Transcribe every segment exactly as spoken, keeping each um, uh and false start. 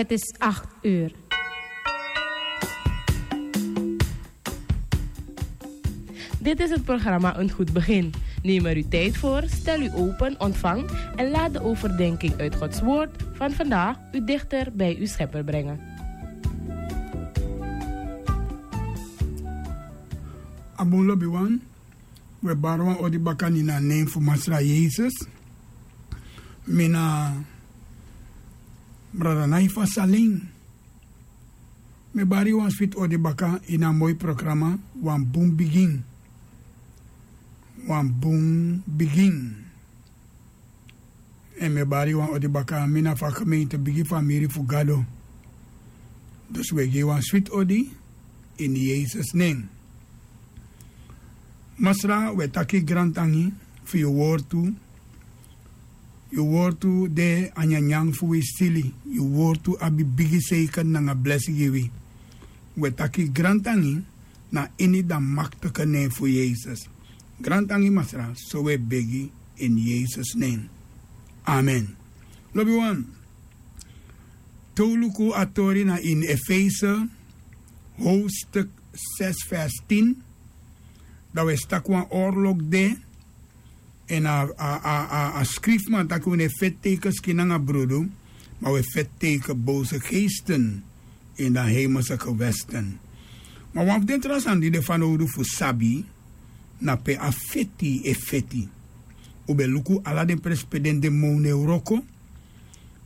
Het is acht uur. Dit is het programma Een Goed Begin. Neem er uw tijd voor, stel u open, ontvang en laat de overdenking uit Gods Woord van vandaag u dichter bij uw Schepper brengen. Abun lobiwan, we bari wan odi baka ini a nen fu Masra Yesus. Mi na Brada Naifa Saling. Mi bari wan switi odi baka ini a moi programa, Wan Bun Bigin. Wan Bun Bigin. Èn mi bari wan odi baka, mi na fu a gemeente, bigi famiri fu Gado. Dus we gi wan switi odi ini Yesus nen. Masra, we taki grantangi fu yu wortu. Yu wortu de a nyanyan fu wi sili. Yu wortu abi bigi seiker nanga blesi gi wi. We taki grantangi na ini dan maktike nen fu Yesus. Grantangi Masra, so we begi ini Yesus nen. Amen. Lobiwan, te un luku a tori na ini Efese, hoofdstuk zes vers tien, dan we si taki wan oorlog de. Èn a, a, a, a, a skrifman taki un no e feti teiken skin nanga brudu, ma un e feti teiken boze geesten in de hemelse gewesten. Ma wan fu den tra sani di de fanowdu fu sabi, na pe a feti e feti. Un ben luku ala den presi pe den demon e wroko,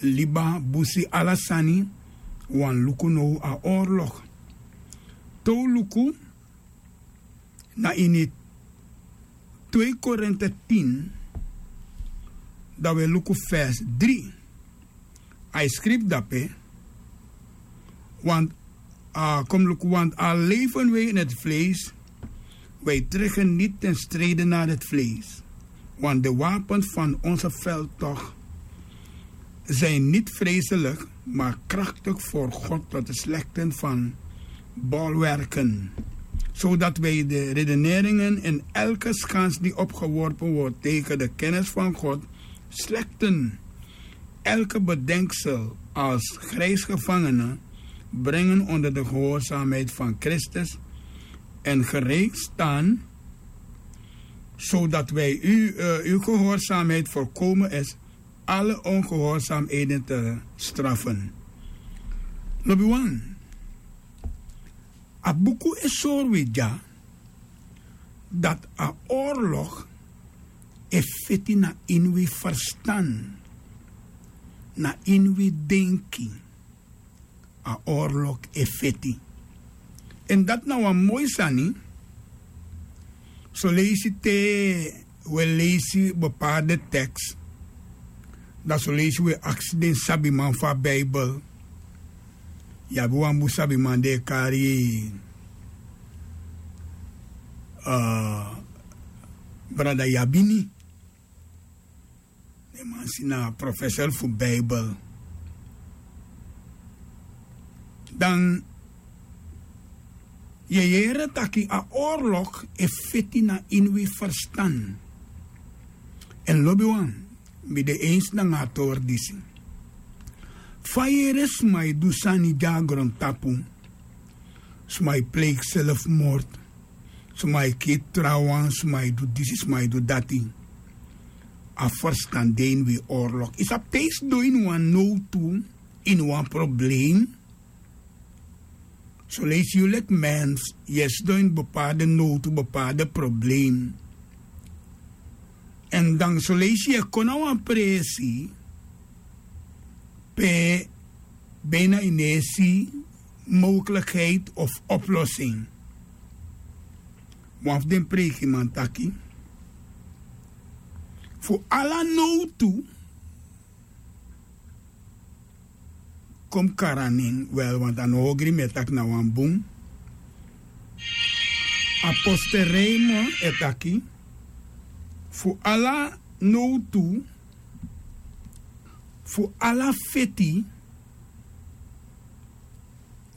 liba, busi, ala sani. Wan luku now a oorlog. Te un luku na ini twee Korinte tien, dan we luku vers drie. A e skrifi dape, want, a, kom luku, want al leven wij in het vlees, wij trekken niet ten strijde naar het vlees. Want de wapens van onze veldtocht zijn niet vreselijk, maar krachtig voor God tot de slechten van bolwerken, zodat wij de redeneringen en elke schans die opgeworpen wordt tegen de kennis van God slechten, elke bedenksel als grijsgevangene brengen onder de gehoorzaamheid van Christus en gereed staan, zodat wij u, eh, uw gehoorzaamheid voorkomen is alle ongehoorzaamheden te straffen. Lobiwan, a buku e sori wi dya dati a oorlog e feti na ini wi ferstan, na ini wi denki. A oorlog e feti. Èn dati na wan moi sani. Son leisi te we leisi bepaalde teks, dan son leisi we aksi den sabiman fu a Bijbel. Yu abi wan bun sabiman di e kari, eh, Brada Yabini. Den man si na profesor fu Bijbel. Dan yu e yere taki a oorlog e feti na ini wi ferstan. Èn lobiwan, mi de eens nanga a tori disi. Fa yu e yere sma e du sani dya na grontapu, sma e pleeg zelfmoord, sma e kiri trawan, sma e du disi, sma e du dati. A ferstan de ini wi oorlog. Yu sabi, te yu sidon ini wan nowtu, ini wan probleem, son leisi yu leki mens, yu e sidon ini bepaalde nowtu, bepaalde probleem. Èn dan son leisi yu e kon na wan presi pe bijna yu no e si mogelijkheid of oplossing. Wan fu den preikiman taki, fu ala nowtu, kon kari a nen, wel, want a no ogri mi e taki na wan bun. Apostel Raymond e taki, fu ala nowtu, fu ala feti,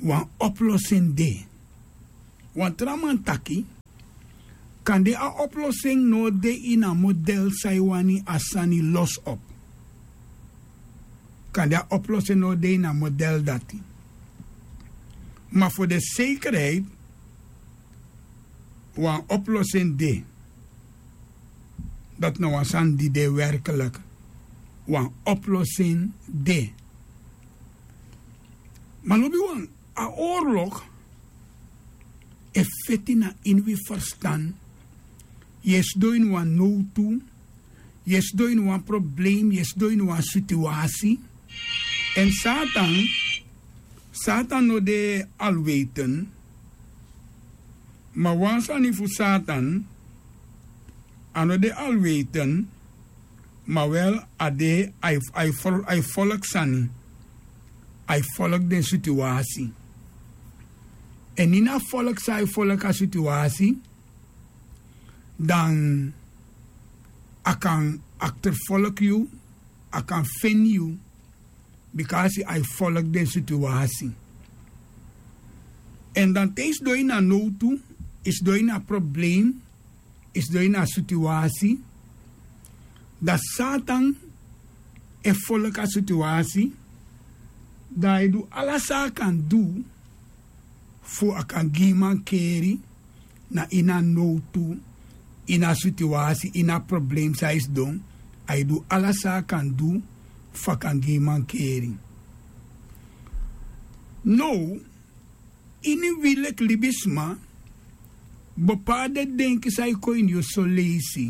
wan oplossing de. Wan tra man taki, kande a oplossing no de ini a model san yu wani a sani los op. Kande a oplosin no de ini a model dati. Ma fu de sekerheid, wan oplosin de. Dati na wan sani di de werkelik. Wan oplosin de. Ma lobi wan, a oorlog e feti na ini wi ferstan. Yu e sidon ini wan nowtu. Yu e sidon ini wan problem, yu e sidon ini wan situasi. Èn satan, satan no de alweten. Ma wan sani fu satan, a no de alweten. Ma wel, a de a e folk sani. A e folk den situasi. Èn ini a folk san a e folk a situasi, dan a kan akterfolk yu, a kan feni yu. Bika a si a e folk den situasi. Èn dan te yu sidon ini a nowtu, yu sidon ini a problem, yu sidon ini a situasi, dan satan e folk a situasi. Dan a e du ala san a kan du fu a kan gi yu mankeri. Na ini a nowtu, ini a situasi, ini a problem san yu sidon, a e du ala san a kan du fu a kan gi yu mankeri. Now, ini wi leki libisma, bepaalde denki san e kon ini yu soleisi.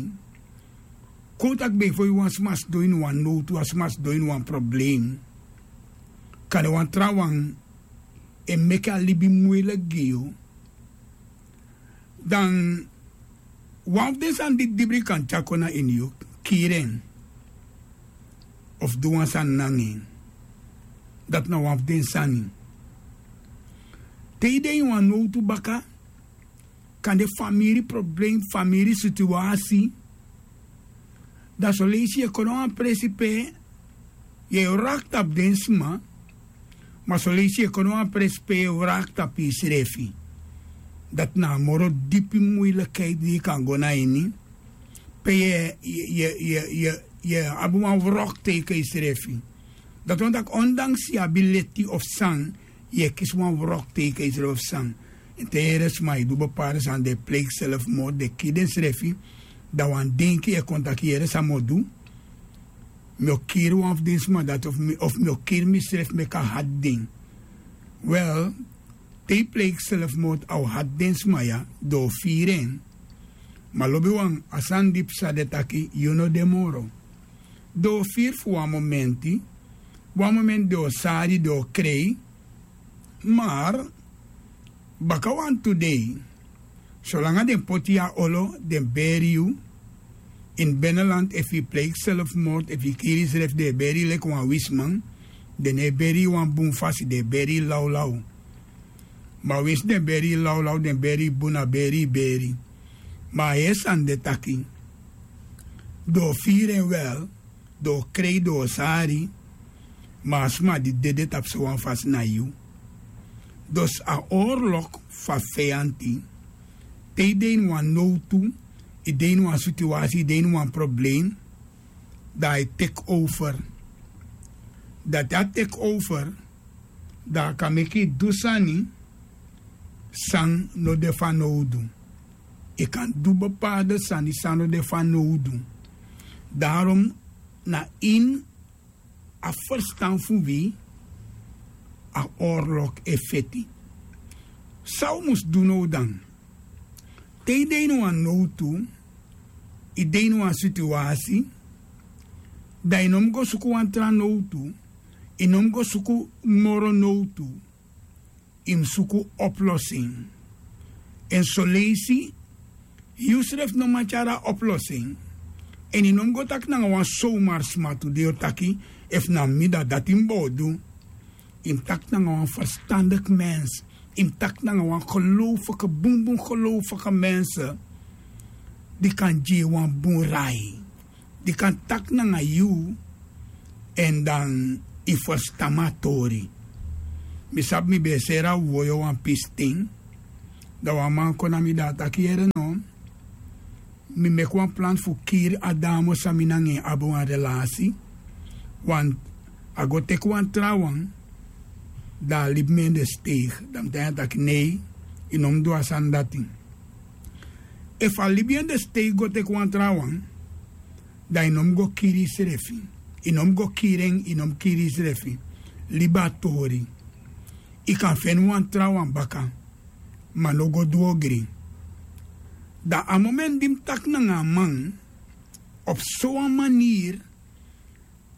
Kon un taki ben fu yu, wan sma sidon ini wan nowtu, wan sma sidon ini wan problem. Kande wan trawan e meki a libi muiliki gi yu. Dan wan fu den sani di dibri kan tyari kon na ini yu, kiri en, of du wan sani nanga en. Dati na wan fu den sani. Te yu de ini wan nowtu baka, kande famiri problem, famiri situasi. Dan soleisi yu e kon na wan presi pe yu e wraki tapu den sma. Ma soleisi yu e kon na wan presi pe yu e wraki tapu yusrefi. Dati na a moro dipi muilikheid di yu kan go na ini. Pe yu e, yu e, yu e, yu e, yu e abi wan wrok tegen yusrefi. Dati wani taki ondanks yu abi leti of san, yu e kisi wan wrok tegen yusrefi of san. Èn te yu yere sma e du bepaalde sani, den e pleigi selfmoord, den e kiri densrefi. Dan wan denki e kon taki, yere, san mi o du? Mi o kiri wan fu den sma dati, of mi, of mi o kiri misrefi meki a hati den. Wel, te yu pleigi selfmoord, a o hati den sma ya, den o firi en. Ma lobiwan, a sani di psa de taki yu no de moro. Den o firi fu wan momenti, wan momenti den o sari, den o krei. Mar baka wantu dei, solanga den poti yu a olo, den beri yu. Ini beneland, efu yu pleigi selfmoord, efu yu kiri yusrefi, den e beri yu leki wan wisiman. Den no e beri yu wan bun fasi, den e beri yu lawlaw. Ma winsi den beri yu lawlaw, den beri yu bun, na beri yu beri. Ma a heri sani de taki, den o firi en wel, den o krei, den o sari. Ma a sma di dede tapu sowan fasi na yu. Dus a oorlog fu a feyanti, te yu de ini wan nowtu, yu de ini wan situasi, yu de ini wan problem, dan a e teki over. Dan te a teki over, dan a kan meki yu du sani san no de fanowdu. Yu kan du bepaalde sani san no de fanowdu. Daarom na ini a ferstan fu wi a oorlog e feti. San un mus du now dan? Te yu de ini wan nowtu, yu de ini wan situasi, dan yu no mus go suku wan tra nowtu, yu no mus go suku moro nowtu. Yu mus suku oplosin. Èn soleisi yu srefi no man tyari a oplosin. Èn yu no mus go taki nanga wan sowmari sma tu, di yu o taki, efu na mi, dan dati mi bo o du. Yu mus taki nanga wan ferstandiki mensi. Yu mus taki nanga wan gelowfiki, bunbun gelowfiki mensi, di kan gi yu wan bun rai, di kan taki nanga yu. Èn dan yu ferstan mi a tori. Mi sabi mi ben e seri a wowoyo wan pisi ten. Dan wan man kon na mi, dan a taki, yere no, mi meki wan plan fu kiri a damo san mi nanga en abi wan relasi. Want a go teki wan trawan, da a libi mi en de steigi. Da mi taigi en taki nei, yu no mus du a sani dati. Efu a libi en de steigi go teki wan trawan, da yu no mus go kiri yusrefi. Yu no mus go kiri en, yu no mus kiri yusrefi. Libi a tori. Yu kan feni wan trawan baka, ma no go du ogri. Da a momenti di mi taki nanga a man op sowan maniri,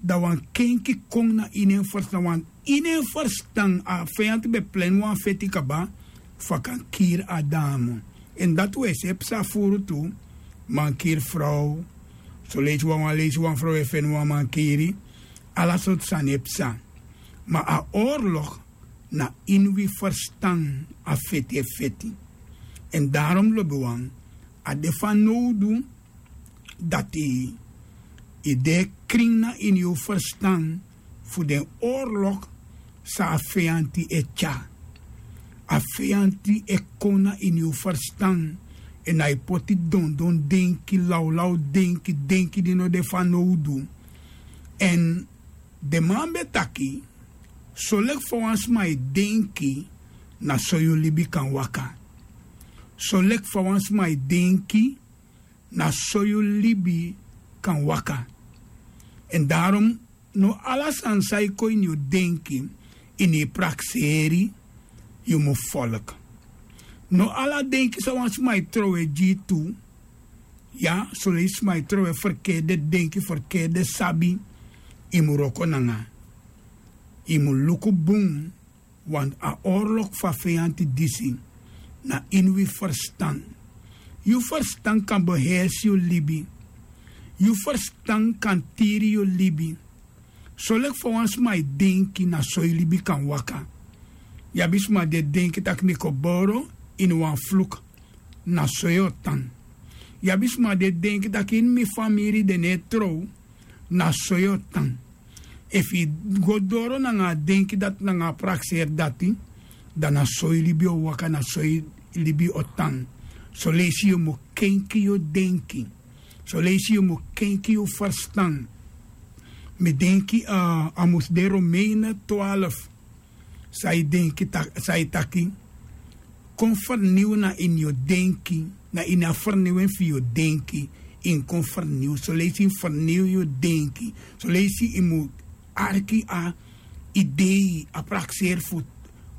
da wan kenki kon na ini en ferstan. Wan ini en ferstan a feyanti ben pleni wan feti kaba fu a kan kiri a damo. Èn dati un e si e psa furu tu. Man kiri frow. Soleisi wan wan leisi wan frow e feni wan man kiri. Ala sortu sani e psa. Ma a orlok na ini wi ferstan a feti e feti. Èn darom lobiwan, a de fanowdu dati yu de krin na ini yu ferstan fu den orlok san a feyanti e tyari. A feyanti e kon na ini yu ferstan, èn a e poti dondon denki, lawlaw denki, denki di no de fanowdu. Èn den man ben taki, soleki fa wan sma e denki, na so yu libi kan waka. Soleki fa wan sma e denki, na so yu libi kan waka. Èn darom, no ala sani san e kon ini yu denki, ini yu prakseri, yu mu folku. No ala denki san wan sma e trowe gi yu tu. Ya, soleisi sma e trowe ferkerde denki, ferkerde sabi, yu mu wroko nanga. Yu mu luku bun, want a orlok fu a feyanti disi na ini wi ferstan. Yu ferstan kan behersi yu libi. Yu ferstan kan tiri yu libi. Soleki fa wan sma e denki, na so yu libi kan waka. Yu abi sma di e denki tak' mi koboro ini wan fluku, na so yu o tan. Yu abi sma di e denki tak' ini mi famiri den no e trow, na so yu o tan. Efu yu go doro nanga a denki dati, nanga a prakseri dati, dan na so yu libi o waka, na so yu libi o tan. Soleisi yu mu kenki yu denki. Soleisi yu mu kenki yu ferstan. Mi denki, a, a mus de Romeini twaalf. San yu denki tak-, san yu taki, kon ferniw na ini yu denki, na ini a ferniwen fu yu denki, yu kon ferniw. Soleisi yu ferniw yu denki. Soleisi yu mu arki a idei, a prakseri fu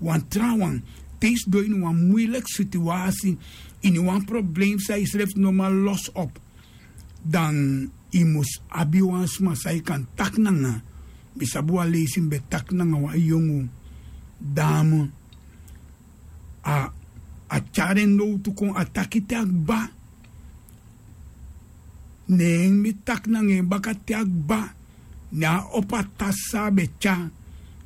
wan trawan. Te yu sidon ini wan muiliki situwasi, ini wan problem san yusrefi no man losi op, dan yu mus abi wan sma san yu kan taki nanga. Mi sabi wan leisi mi ben taki nanga wan yongu damo. A, a tyari en nowtu kon, a taki te a kba. Ne mi taki nanga en baka te a kba. Ne a opo a tasi san a ben tyari.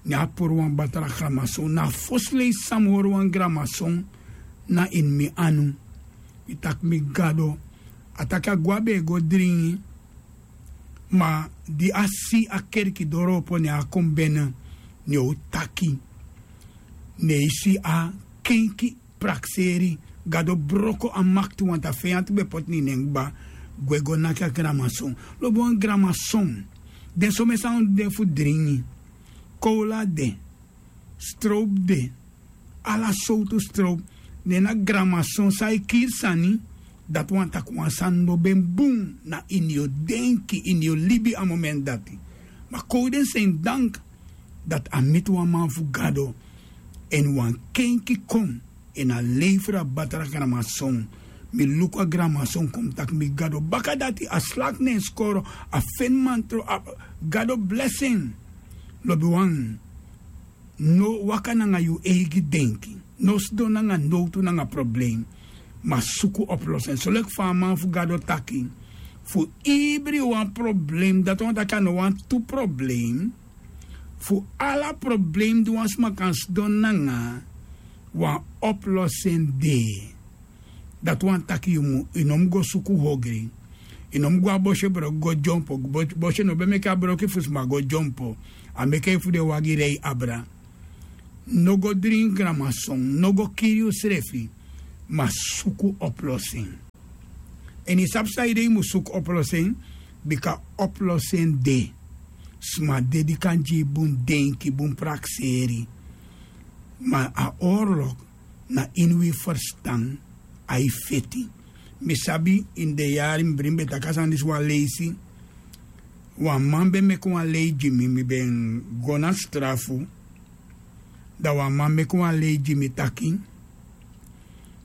Ne a puru wan batra gramason. Na a fosi leisi san mi hori wan gramason na ini mi anu. Mi taki mi Gado. A taki a gwe, a ben e go dringi. Ma di a si a kerki doro opo, ne a kon bene, ne o taki. Ne yu si a kenki prakseri, Gado broko a makti, want a feyanti ben poti na ini en kba, gwe go naki a gramason. Lobi wan gramason. Den somen sani de fu dringi. Kowla de. Strowpu de. Ala sowtu strowpu. Ne na gramason san e kiri sani. Dati wani taki wan sani no ben bun na ini yu denki, ini yu libi a momenti dati. Ma kowden sen dank dati a miti wan man fu Gado. Èn wan kenki kon, èn a lefra batra gramason. Mi luku a gramason kon, mi taki mi Gado. Baka dati a slak na en skoro, a feni man tron, a Gado blesi en. Lobiwan, no waka nanga yu eigi denki. No sidon nanga nowtu nanga problem. Ma suku oplosen. Soleki fa a man fu Gado taki, fu ibri wan problem, dati wani taki a no wan tu problem. Fu ala problem di wan sma kan sidon nanga, wan oplosen de. Dati wani taki yu mu, yu no mu go suku hogri. Yu no mu go a bosye broki go dyompo. Bo-, bosye no ben meki a broki fu sma go dyompo. A meki en fu den wagi rei abra. No go dringi gramason, no go kiri yusrefi, ma suku oplosen. Èn yu sabi saide yu mu suku oplosen, bika oplosen de. Sma dede kan gi yu bun denki, bun prakseri. Ma a oorlog na ini wi ferstan. A e feti. Mi sabi ini den yari mi brin ben taki a sani disi wan leisi. Wan man ben meki wan lei gi mi, mi ben go na strafu. Dan wan man meki wan lei gi mi taki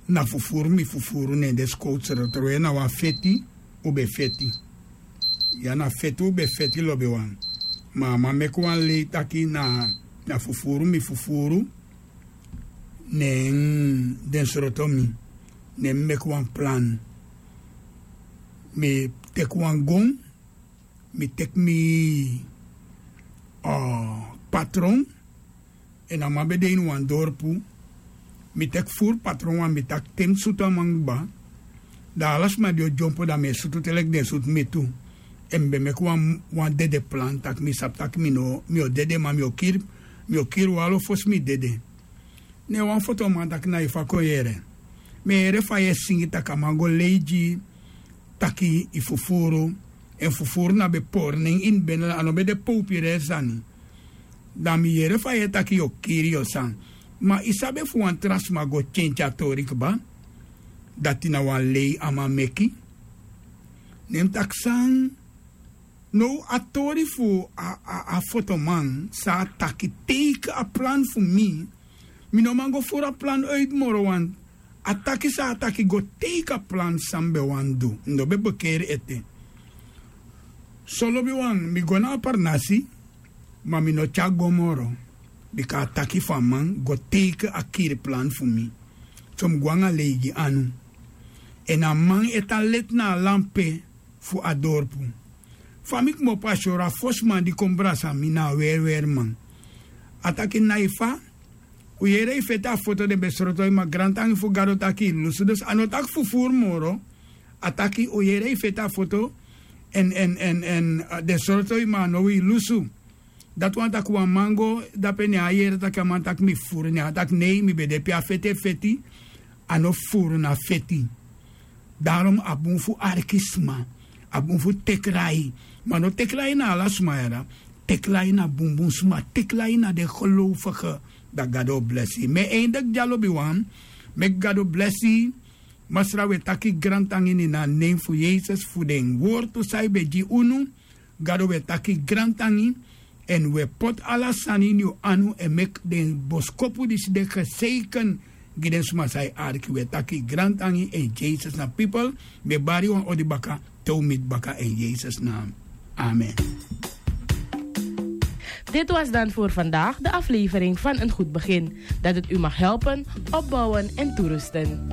na fufuru mi fufuru ne en de skowtu srotroye na wan feti. Un ben feti. Ya na feti un ben feti lobiwan. Ma a man meki wan lei taki na fufuru mi fufuru ne en den sroto mi. Ne mi meki wan plan. Mi teki wan gon. Mi teki mi patron. Èn a man ben de ini wan dorpu. Mi teki furu patron wan mi taki te mi sutu a man kba, dan ala sma di o dyompo dan mi e sutu te leki den sutu mi tu. Èn mi ben meki wan dede plan tak' mi sabi tak' mi no mi o dede ma mi o kiri. Mi o kiri walo fosi mi dede. Ne wan fotoman taki na yu fa kon yere. Mi e yere fa yu e singi tak' a man go lei gi yu. Taki yu fufuru. Èn fufuru na ben pori nen ini bene a no ben de powpireri sani. Dan mi yere fa yu e taki yu o kiri yu o sani. Ma yu sabi efu wan tra sma go tyentyen a tori kba, dati na wan lei a man meki. Ne mi taki san? Now a tori fu a fotoman san a taki teiki a plan fu mi. Mi no man go furu a plan oiti moro wan. A taki san a taki go teiki a plan san mi ben wani du. Mi no ben bekeri ete. So lobiwan mi go na a parnasi. Ma mi no tyari go moro. Bika a taki fu a man go teiki a kiri plan fu mi. So mi go anga lei gi anu. Èn a man e tan leti na a lampe fu a dorpu. Fa mi kmopo a syoro a fosi man di kon brasa mi na a weriweri man. A taki na yu fa? Un yere yu feti a foto den ben sroto yu ma grantangi fu gado taki yu lusu dus a no taki fufuru moro. A taki un yere yu feti a foto. Èn den sroto yu ma a no wi lusu. Dati wani tak' wan man go dape ne a yere tak' a man tak' mi fufuru ne a taki nei mi ben de pe a feti e feti. A no fufuru na feti. Darom a bun fu arki sma. A bun fu teki lai. Ma no teki lai na ala sma yara. Teki lai na bunbun sma teki lai na den gelowfige. Dan gado o blesi yu mi e eindeki dya lobiwan. Meki gado blesi yu. Masra wi e taki grantangi ini a nen fu yesus fu den wortu san yu ben gi unu. Gado wi e taki grantangi. Èn wi e poti ala sani ini yu anu èn meki den boskopu disi de geseiken. Gi den sma san e arki wi e taki grantangi èn jesus na pipel. Mi e bari yu wan odi baka te un miti baka èn jesus na. Amen. Dit was dan voor vandaag de aflevering van een goed begin, dat het u mag helpen, opbouwen en toerusten.